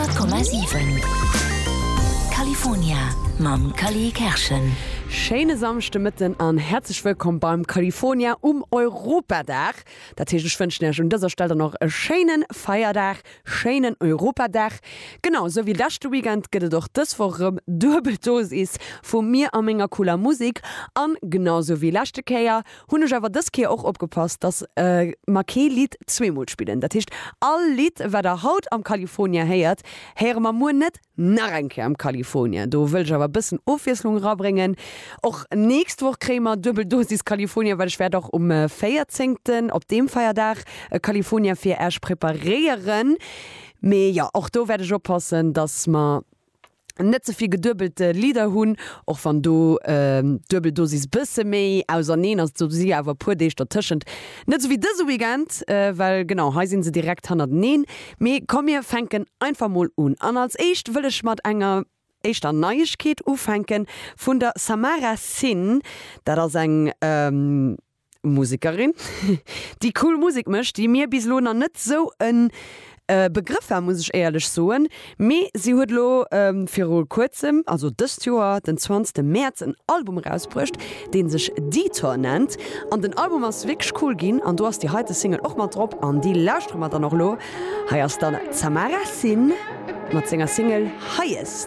100,7 California mam Cally Kerschen. Schéine Samschdemëtten an häerzlech wëllkomm beim California um Europadag. Dat heescht, ech wënschen Iech un dëser Stell dann och e schéine Feierdag, schéinen Europadag. Genau esou wéi leschte Weekend gëtt et och dës Woch erëm duebel Dosis vu mir a menger cooler Musek. An genau esou wéi leschte Kéier Hunn ech awer dës Kéier och opgepasst, dass mer kee Lidd zweemol spillen. Dat heescht, all Lidd, wat der haut am California héiert, héiere mer muer net nach eng Kéier am California. Do wëll ech awer e bëssen Ofwiesslung erabréngen. Och nächst Woch kréie mer duebel Dosis California, well ech wäert och um véierzéngten, op deem Feierdag, e California fir Äech preparéieren. Mee jo, och do wäert ech oppassen, dass mer net ze vill geduebelte Lidder hunn, och wann do d'Duebeldosis bësse méi auserneen ass, do si awer e puer Deeg dertëschent, net esou wéi dëse Weekend, well genau hei si se direkt hannerteneen. Mee komm mir fänken einfach mol un an als éischt wëll ech mat enger éischter Neiegkeet ufänken vun der Samara Sin, dat ass eng. Musekerin, déi cool Musek mécht, déi mir bis elo nach net sou e Begrëff war, muss ech éierlech soen. Mee si huet elo viru kuerzem, also dëst Joer den 20 Mäerz, en Album erausbruecht, dee sech Detour nennt. An den Album ass wierklech cool ginn an do ass déi heite Single och mat drop an déi lauschtere mer dann och elo. Hei ass dann d'Samara Sin mat senger Single Highest.